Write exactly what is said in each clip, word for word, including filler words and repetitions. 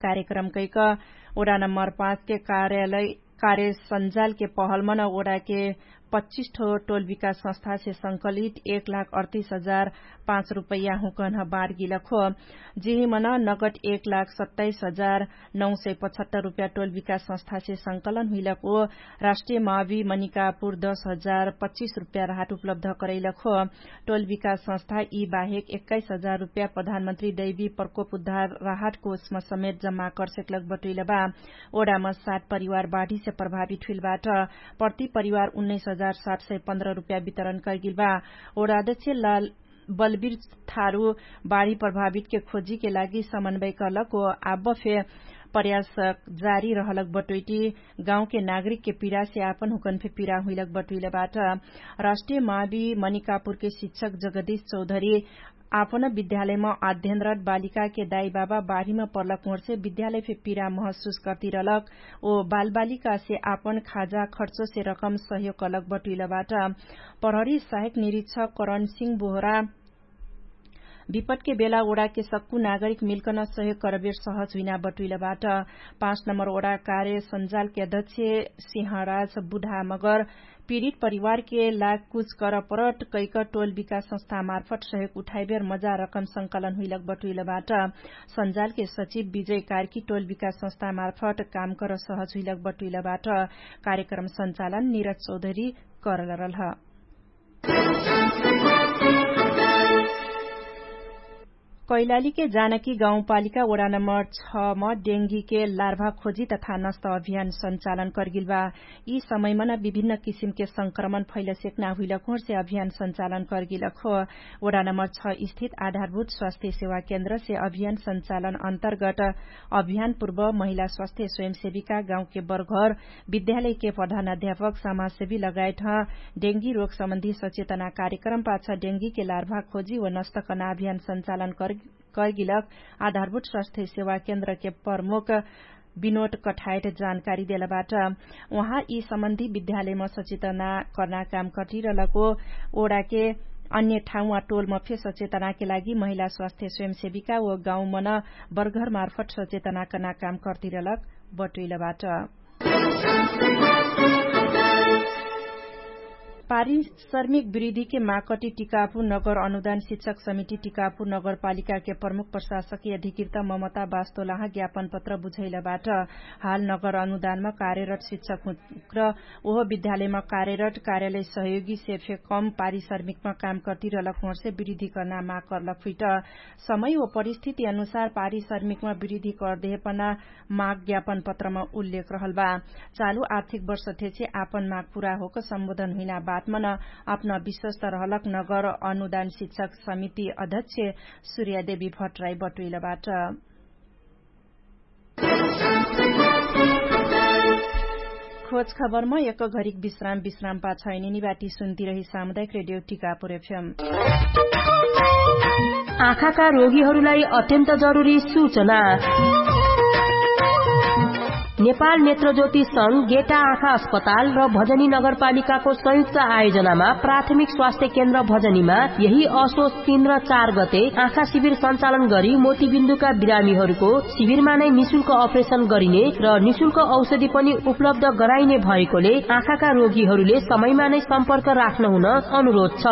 कार्यक्रम कैक Voda number पाँच के कार्यालय कार्य सञ्जाल के पहलमन ओडा के पच्चिस ठो टोल विकास संस्था से संकलित एक लाख अडतीस हजार पाँच रुपैया हुकन ह बार गिलक हो। जेहिमन नगट एक लाख सत्ताइस हजार नौ सय पचहत्तर रुपैया टोल विकास संस्था से संकलन हुइलक हो। राष्ट्रिय मावी मनिकापुर दस हजार पच्चिस रुपैया राहट उपलब्ध करैलक हो। टोल विकास संस्था यी बाहेक एक्काइस हजार रुपैया प्रधानमन्त्री दैवी प्रकोप उद्धार राहट कोषमा समेत जम्मा करसेकलक बटुइलबा। ओडामा सात परिवार बाढीसे प्रभावित हुइलबाट प्रति परिवार उन्नैस हजार सात सय पन्ध्र रुपैया वितरण करगिलबा। ओडाध्यक्ष लाल बलबीर थारु बाढी प्रभावित के खोजी के लागि समन्वय करलक हो। आब्ब फे प्रयास जारी रहलक बटोइटी गाउँके नागरिक के पिरासे आपन हुकन फे पिरा हुइलक बटुइलबाट। राष्ट्रिय मावी मनिकापुर के शिक्षक जगदीश चौधरी आपन विद्यालयमा अध्ययनरत बालिका के दाई बाबा बाढीमा पर्लक होर्से विद्यालय फे पिरा महसुस कर्तिरलक। ओ बालबालिका से आपन खाजा खर्चो से रकम सहयोग करलक बटुइलबाट। प्रहरी सहायक निरीक्षक करण सिंह बोहरा विपटके बेला ओडाके सक्कु नागरिक मिल्कन सहयोग करबेर सहज हुइना बटुइलबाट। पाँच नम्बर ओडा कार्य सञ्जालके अध्यक्ष सिंहराज बुढामगर पिरित परिवारके लाग कुछ करपरट कैक टोल विकास संस्थामार्फट सहयोग उठाइबेर मजा रकम संकलन हुइलक बटुइलबाट। सञ्जालके सचिव विजय कार्की टोल विकास संस्थामार्फट काम कर सहज हुइलक बटुइलबाट। कार्यक्रम सञ्चालन निरज चौधरी करलरलह। कैलालीके जानकी गाउँपालिका ओडा नम्बर छ म डेङ्गीके लार्भा खोजी तथा नस्त अभियान सञ्चालन करगिलबा। यी समयमन विभिन्न किसिमके संक्रमण फैलसेक्ना हुइलक होर्से अभियान सञ्चालन करगिलक हो। ओडा नम्बर छ स्थित आधारभूत स्वास्थ्य सेवा केन्द्रसे अभियान सञ्चालन अन्तर्गट अभियान पूर्व महिला स्वास्थ्य स्वयंसेविका गाउँके बर्घर विद्यालयके प्रधान अध्यापक समाजसेवी लगायत ह डेङ्गी रोग सम्बन्धी सचेतना कार्यक्रम पाछ डेङ्गीके लार्भा खोजी व नस्तकना अभियान सञ्चालन करगिलक आधारभूत स्वास्थ्य सेवा केन्द्रके प्रमुख विनोट कठायट जानकारी देलबाट। उहाँ यी सम्बन्धी विद्यालयमा सचेतना कर्ना काम कटिरलको ओडाके अन्य ठाउँमा टोलमा फे सचेतनाके लागि महिला स्वास्थ्य स्वयंसेविका व गाउँमन बर्घरमार्फट सचेतना कर्ना काम कर्तिरलक बटुइलबाट। पारिश्रमिक वृद्धिके माकटी टिकापुर नगर अनुदान शिक्षक समिति टिकापुर नगरपालिकाके प्रमुख प्रशासकी अधिकृत ममता बास्तोलाह ज्ञापनपत्र बुझैलबाट। हाल नगर अनुदानमा कार्यरत शिक्षक हुँक्र ओहो विद्यालयमा कार्यरत कार्यालय सहयोगी सेफे कम पारिश्रमिकमा काम कर्तिरलक होर्से वृद्धि कर्ना माग कर्लक फुइट। समय व परिस्थिति अनुसार पारिश्रमिकमा वृद्धि कर्देहेपना माग ज्ञापन पत्रमा उल्लेख रहलबा। चालु आर्थिक वर्ष थेछे आपन माग पुरा होक सम्बोधन हुइना बातमन अपना विश्वस्त रहलक नगर अनुदान शिक्षक समिति अध्यक्ष सुर्यादेवी भट्टराई बटुइलबाट। खोज खबरमा एक घरिक विश्राम विश्राम पाछैनिनी बाटी सुन्तिरही सामुदायिक रेडियो टिकापुर एफएम। आँखाका रोगीहरूलाई अत्यन्त जरुरी सूचना। नेपाल नेत्रज्योति संघ गेटा आँखा अस्पताल र भजनी नगरपालिकाको संयुक्त आयोजनामा प्राथमिक स्वास्थ्य केन्द्र भजनीमा यही असोच तीन र चार गते आँखा शिविर सञ्चालन गरी मोतीबिन्दुका बिरामीहरूको शिविरमा नै निशुल्क अपरेशन गरिने र निशुल्क औषधि पनि उपलब्ध गराइने भएकोले आँखाका रोगीहरूले समयमा नै सम्पर्क राख्न हुन अनुरोध छ।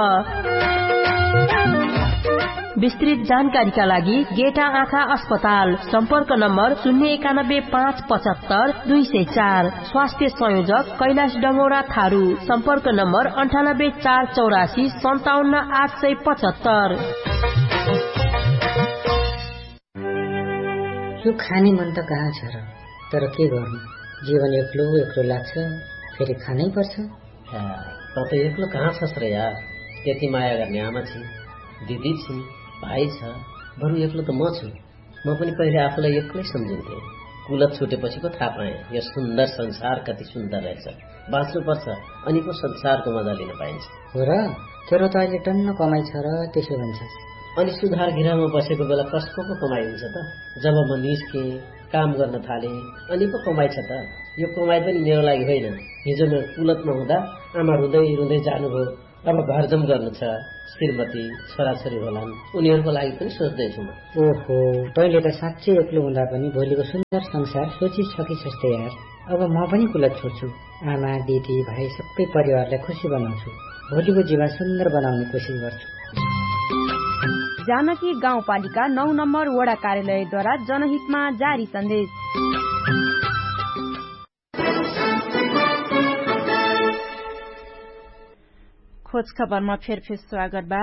विस्तृत जानकारीका लागि गेटा आँखा अस्पताल, सम्पर्क नम्बर शून्य एकानब्बे पाँच पचहत्तर दुई सय चार। स्वास्थ्य संयोजक कैलाश डङ्गौरा थारू, सम्पर्क नम्बर अन्ठानब्बे चार चौरासी सन्ताउन्न आठ सय पचहत्तर। यो खाने मन त कहाँ छ र? तर के गर्नु, जीवन एक्लो एक्लो लाग्छ, फेरि खानै पर्छ। त त एक्लो कहाँ छस् र यार? त्यति माया गर्ने आमा छि, दिदी छि, भाइ छ, बरु एक्लो त म छु। म पनि पहिले आफूलाई एक्लै सम्झिन्थे। कुलत छुटेपछिको थाहा पाएँ यो सुन्दर संसार कति सुन्दर रहेछ। बाँच्नुपर्छ, अनि पो संसारको मजा लिन पाइन्छ। हो र, तेरो त अहिले टन्न कमाइ छ र त्यसो भन्छस्। अनि सुधार गृहमा बसेको बेला कसको पो कमाइ हुन्छ त? जब म निस्केँ, काम गर्न थालेँ, अनि पो कमाइ छ त। यो कमाइ पनि मेरो लागि होइन। हिजो म कुलतमा हुँदा आमा रुँदै रुँदै जानुभयो। अब घरजम गर्नु छ, श्रीमती छोराछोरी होलान, उनीहरूको लागि पनि सोच्दैछु म। ओहो, तैँले त साँच्चै एक्लो हुँदा पनि भोलिको सुन्दर संसार सोचिसकिछस् त यार। अब म पनि कुलत छोड्छु। आमा, दिदी, भाइ, सबै परिवारलाई खुसी बनाउँछु। भोलिको जीवन सुन्दर बनाउने कोसिस गर्छु। जानकी गाउँपालिका नौ नम्बर वडा कार्यालयद्वारा जनहितमा जारी सन्देश। खोज खबरमा फेरफेर स्वागत बा।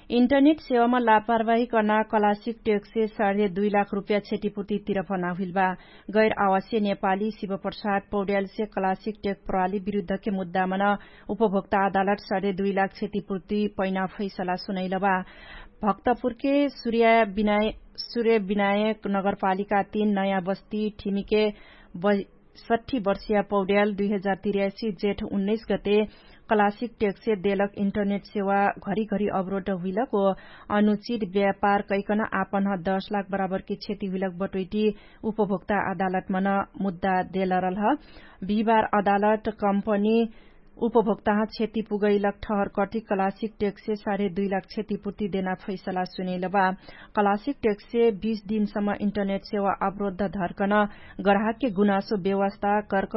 इन्टरनेट सेवामा लापरवाही कर्ना कलासिक टेक्से साढे दुई लाख रुपियाँ क्षतिपूर्ति तिरफना हुइल बा। गैर आवासीय नेपाली शिवप्रसाद पौड्यालसे कलासिक टेक प्रणाली विरुद्धके मुद्दामन उपभोक्ता अदालत साढे दुई लाख क्षतिपूर्ति पैना फैसला सुनैल बा। भक्तपुरके सूर्य विनायक नगरपालिका तीन नयाँ बस्ती ठिमिके सट्ठी वर्षिया पौड्याल दुई हजार तिरासी जेठ उन्नैस गते कलासिक टेक्से देलक इन्टरनेट सेवा घरिघरि अवरोध हुइलक ओ अनुचित व्यापार कैकन आपन दस लाख बराबरके क्षति हुइलक बटोइटी उपभोक्ता अदालतमन मुद्दा देलरल ह। बिहिबार अदालत कम्पनी उपभोक्ताह क्षति पुगैलक ठहर कटिक कलासिक टेक्से साढे दुई लाख क्षतिपूर्ति देना फैसला सुनेल बा। कलासिक टेक्से बीस दिनसम्म इन्टरनेट सेवा अवरोध धर्कन ग्राहकके गुनासो व्यवस्था कर्क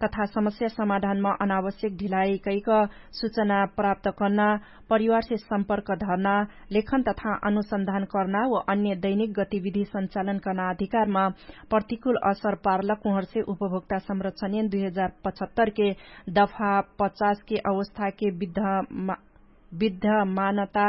तथा समस्या समाधानमा अनावश्यक ढिलाइ कैक सूचना प्राप्त कर्ना, परिवारसे सम्पर्क धर्ना, लेखन तथा अनुसन्धान कर्ना व अन्य दैनिक गतिविधि सञ्चालन कर्ना अधिकारमा प्रतिकूल असर पारलक उहरसे उपभोक्ता संरक्षण एन दुई हजार पचहत्तरके दफा पचासके अवस्थाके विद्यमानता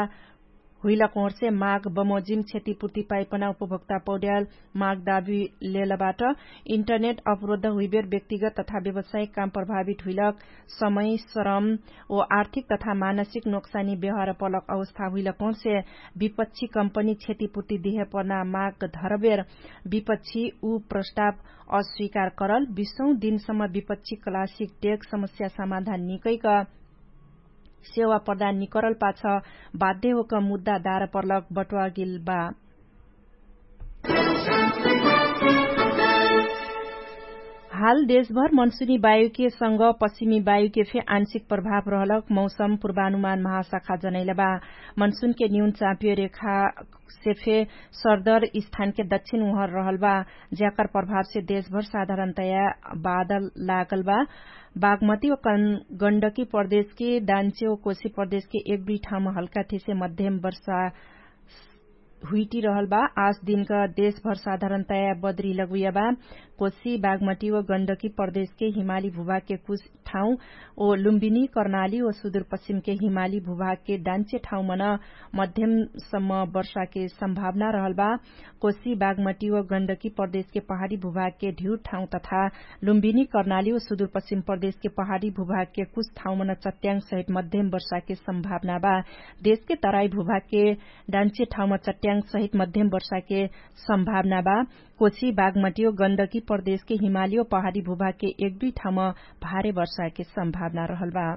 हुइलक उहरसे माग बमोजिम क्षतिपूर्ति पाइपना उपभोक्ता पौड्याल माग दाबी लेलबाट। इन्टरनेट अवरोध हुइबेर व्यक्तिगत तथा व्यवसायिक काम प्रभावित हुइलक समय श्रम ओ आर्थिक तथा मानसिक नोक्सानी व्यवहार पलक अवस्था हुइलक उहरसे विपक्षी कम्पनी क्षतिपूर्ति दिहे पर्ना माग धरबेर विपक्षी उ प्रस्ताव अस्वीकार करल बिसौँ दिनसम्म विपक्षी कलासिक टेक समस्या समाधान निकैक सेवा प्रदान निकरल पाछ बाध्य होक मुद्दा दार पर्लक बटुवागिल बा। हाल देशभर मनसुनी वायुके संग पश्चिमी वायुके फे आंशिक प्रभाव रहलक मौसम पूर्वानुमान महाशाखा जनैल बा। मनसुनके न्यून चापियो रेखा से फे सरदर स्थानके दक्षिण उहर रहल बा। ज्याकर प्रभावसे देशभर साधारणतया बादल लागल बा। बागमती व गण्डकी प्रदेशके डान्चे व कोशी प्रदेशके एक दुई ठाउँमा हल्का थिसे मध्यम वर्षा हुइटी रहल बा। आस दिनका देशभर साधारणतया बद्री लगुया बा। कोशी बागमती व गण्डकी प्रदेशके हिमाली भूभागके कुछ ठाउँ ओ लुम्बिनी कर्णाली व सुदुरपश्चिमके हिमाली भूभागके डान्चे ठाउँ मन मध्यमसम्म वर्षाके सम्भावना रहल बा। कोशी बागमटी व गण्डकी प्रदेशके पहाडी भूभागके ढिउर ठाउँ तथा लुम्बिनी कर्णाली व सुदुरपश्चिम प्रदेशके पहाडी भूभागके कुछ ठाउँ मन चट्याङ सहित मध्यम वर्षाके सम्भावना बा। देशके तराई भूभागके डान्चे ठाउँमा चट्याङ सहित मध्यम वर्षाके सम्भावना बा। कोशी बागमटी व गण्डकी प्रदेशके हिमाली व पहाडी भूभागके एक दुई ठाउँमा भारे वर्षाके सम्भावना रहल बा।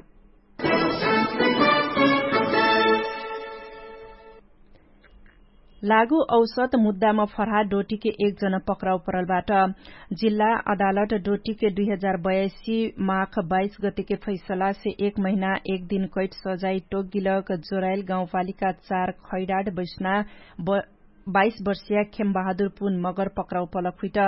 लागु औसत मुद्दामा फरहा डोटीके एक जन पक्राउ परलबाट। जिल्ला अदालत डोटीके दुई हजार बयासी माख बाइस गतिके फैसलासे एक महिना एक दिन कैट सजाइ टोकगिलक जोराइल गाउँपालिका चार खैडाड बैसना बाइस वर्षिया खेमबहादुर पुन मगर पक्राउ पलक हुइट।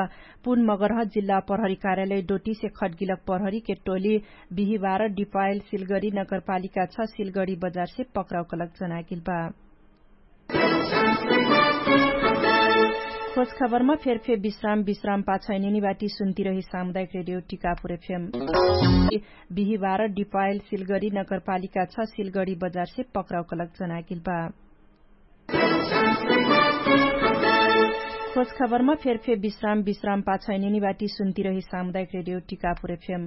पुन मगरह जिल्ला प्रहरी कार्यालय डोटीसे खटगिलक प्रहरीके टोली बिहिबार डिपाइल सिलगडी नगरपालिका छ सिलगडी बजारसे पक्राउ कलक जनागिल बा। खोज खबरमा फेरफे विश्राम विश्राम पाछैनिनी बाटी सुन्तिरही सामुदायिक रेडियो टिकापुर एफएम। बिहिबार डिपाइल सिलगडी नगरपालिका छ सिलगडी बजारसे पक्राउ कलक जनागिल बा। खोज खबरमा फेरफे विश्राम विश्राम पाछैनिनी बाटी सुन्तिरही सामुदायिक रेडियो टिकापुर एफएम।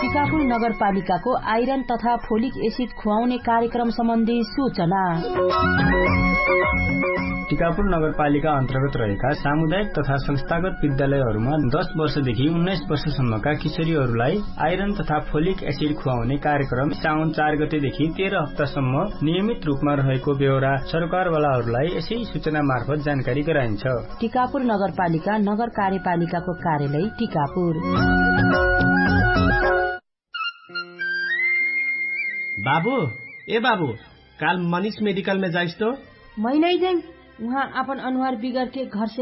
टिकापुर नगरपालिकाको आइरन तथा फोलिक एसिड खुवाउने कार्यक्रम सम्बन्धी सूचना। टिकापुर नगरपालिका अन्तर्गत रहेका सामुदायिक तथा संस्थागत विद्यालयहरूमा दस वर्षदेखि उन्नाइस वर्षसम्मका किशोरीहरूलाई आइरन तथा फोलिक एसिड खुवाउने कार्यक्रम साउन चार गतेदेखि तेह्र हप्तासम्म नियमित रूपमा रहेको बेहोरा सरकारवालाहरूलाई यसै सूचना मार्फत जानकारी गराइन्छ। टिकापुर नगरपालिका नगर कार्यपालिकाको कार्यालय टिकापुर। बाबु, ए बाबु, काल मनिष मेडिकलमे जाइस्तो। मै नै जैम। उहाँ आपन अनुहार बिगरके घरसे